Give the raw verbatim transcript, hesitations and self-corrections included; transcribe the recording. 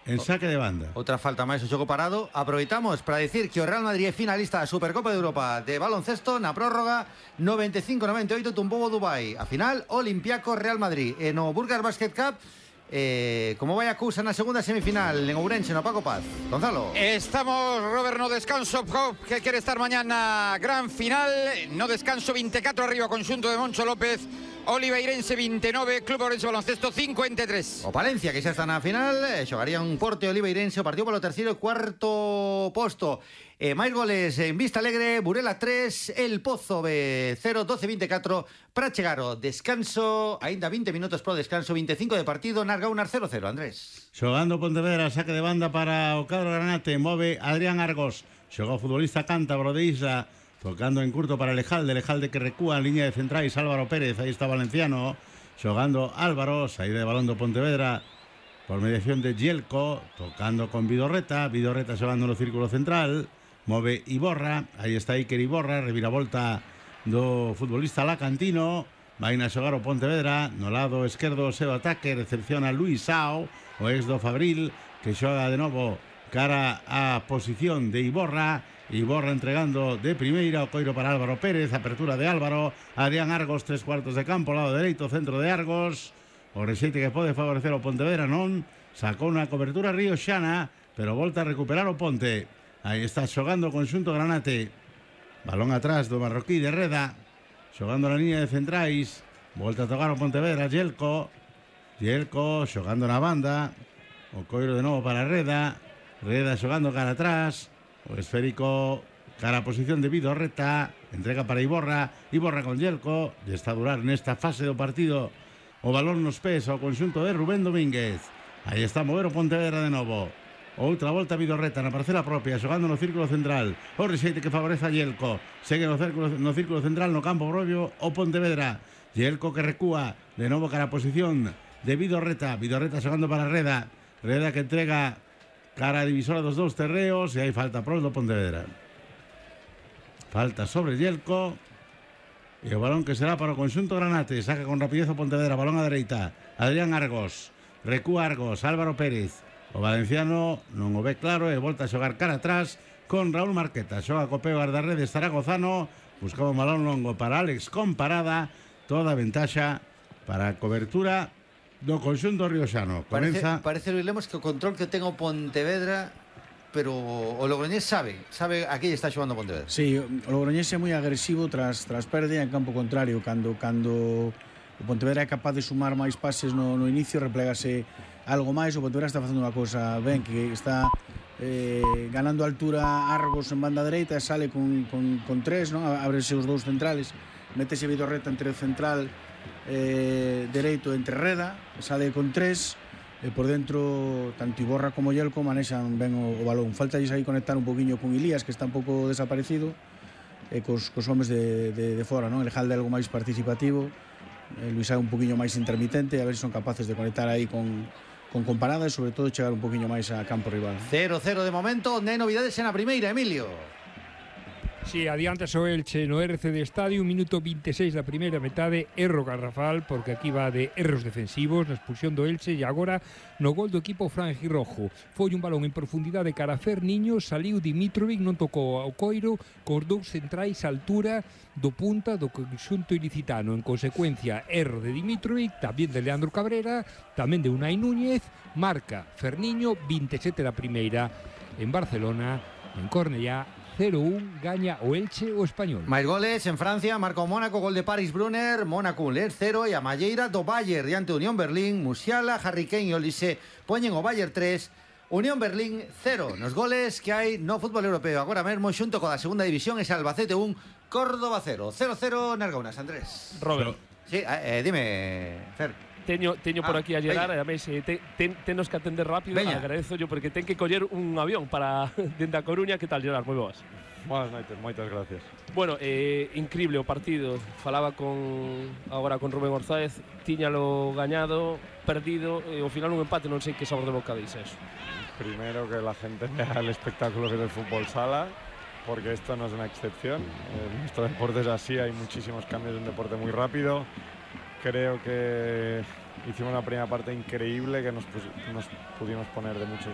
en saque de banda. Outra falta máis o xogo parado. Aproveitamos para dicir que o Real Madrid é finalista da Supercopa de Europa de baloncesto na prórroga noventa e cinco noventa e oito tumbou o Dubai. A final, Olympiacos Real Madrid. E no Burgers Basket Cup, eh, como vai a cousa na segunda semifinal en Ourense, no Paco Paz. Gonzalo. Estamos, Robert, no descanso, que quere estar mañana gran final. No descanso, veinticuatro arriba, conxunto de Moncho López. Oliveirense vinte e nove, Club Ourense Baloncesto cincuenta e tres. O Palencia, que xa está na final, eh, xogaría un Porte Oliveirense, o partido polo terceiro e cuarto posto. Eh, máis goles en Vista Alegre, Burela tres, El Pozo B cero, doce veinticuatro, para chegar ao descanso, aínda vinte minutos pro descanso, veinticinco de partido, Nargaunas cero cero, Andrés. Xogando Pontevedra, saque de banda para o cadro granate, move Adrián Argos, xoga o futbolista cántabro de Isla, tocando en curto para Lejalde, Lejalde que recúa en línea de centrais, Álvaro Pérez, aí está Valenciano, xogando Álvaro, saída de balón do Pontevedra, por mediación de Gielco, tocando con Vidorreta, Vidorreta xogando no círculo central, move Iborra, aí está Iker Iborra, reviravolta do futbolista Lacantino, vai na xogar o Pontevedra, no lado esquerdo o seu ataque, recepciona Luis Sao, o ex do Fabril, que xoga de novo cara á posición de Iborra, Iborra entregando de primeira, o coiro para Álvaro Pérez, apertura de Álvaro, Adrián Argos, tres cuartos de campo, lado dereito, centro de Argos, o rexeite que pode favorecer o Pontevedra, non, sacou unha cobertura Río Xana, pero volta a recuperar o Ponte, aí está xogando o conxunto granate, balón atrás do marroquí de Reda, xogando na línea de centrais, volta a tocar o Pontevedra, Gielco, Gielco xogando na banda, o coiro de novo para Reda, Reda xogando cara atrás, o esférico cara a posición de Vidorreta, entrega para Iborra, Iborra con Gielco, e está a durar nesta fase do partido o balón nos pés ao conxunto de Rubén Domínguez. Aí está a mover o Pontevedra de novo. Outra volta a Vidorreta na parcela propia, xogando no círculo central, o rexeite que favorece a Gielco, segue no círculo, no círculo central, no campo propio o Pontevedra, Gielco que recúa de novo cara a posición de Vidorreta, Vidorreta xogando para Reda, Reda que entrega cara a divisora dos dous terreos, e hai falta pro do Pontevedra. Falta sobre Gielco, e o balón que será para o conxunto granate, saca con rapidez o Pontevedra, balón a dereita, Adrián Argos, recúa Argos, Álvaro Pérez, o valenciano non o ve claro e volta a xogar cara atrás con Raúl Marqueta, xoga copeo guardarredes zaragozano, buscaba un balón longo para Alex con parada, toda a ventaxa para a cobertura do conxunto rioxano. Parece, parece Luis Lemos que o control que ten o Pontevedra, pero o Logroñés sabe, sabe a que está xogando o Pontevedra. Sí, o Logroñés é moi agresivo tras, tras pérdida en campo contrario, cando, cando o Pontevedra é capaz de sumar máis pases no, no inicio, replegase algo máis, o Pontevedra está facendo unha cousa ben, que está eh, ganando altura Argos en banda dereita, sale con, con, con tres, non? Ábrese os dous centrales, métese Vidorreta entre o central eh, dereito entre Reda, sale con tres, e por dentro tanto Iborra como Gielco manexan ben o, o balón. Falta aí conectar un poquinho con Ilías, que está un pouco desaparecido, e cos, cos homes de, de, de fora, non? El Jalde algo máis participativo, eh, Luis é un poquinho máis intermitente, a ver se son capaces de conectar aí con con comparada e sobre todo chegar un poquinho máis a campo rival. cero cero de momento, non hai novidades en a primeira, Emilio. Si, sí, adiante o Elche no R C D Estadio, minuto veintiséis da primeira metade, erro garrafal, porque aquí va de erros defensivos na expulsión do Elche, e agora no gol do equipo franjirrojo. Foi un balón en profundidade cara a Ferniño, saliu Dimitrovic, non tocou ao coiro, cos dous centrais a altura do punta do conxunto ilicitano. En consecuencia, erro de Dimitrovic, tamén de Leandro Cabrera, tamén de Unai Núñez, marca Ferniño, veintisiete da primeira. En Barcelona, en Cornellá, cero un, gaña o Elche o Español. Máis goles en Francia, marca o Mónaco, gol de Paris Brunner, Mónaco Ler cero, e a Malleira do Bayern diante Unión Berlín, Musiala, Harry Kane e Olise poñen o Bayern tres, Unión Berlín cero. Nos goles que hai no fútbol europeo agora mesmo xunto coa segunda división, es Albacete un, Córdoba cero, cero cero Nargaunas, Andrés. Robert. Sí, eh, dime, Fer. Teño, teño por aquí a Gerard, e a mes eh, te, ten, tenos que atender rápido. Veña. Agradezo yo porque ten que coller un avión para dende a Coruña. Que tal, Gerard? Moi boas. Boas noites, moitas gracias. Bueno, eh, increíble o partido. Falaba con agora con Rubén Orzáez, tiñalo gañado, perdido, e ao final un empate, non sei que sabor de boca dice eso. Primero que la gente vea el espectáculo que es el fútbol sala, porque esto no es una excepción. En nuestro deporte es así, hay muchísimos cambios, de un deporte muy rápido. Creo que hicimos una primera parte increíble, que nos, nos pudimos poner de muchos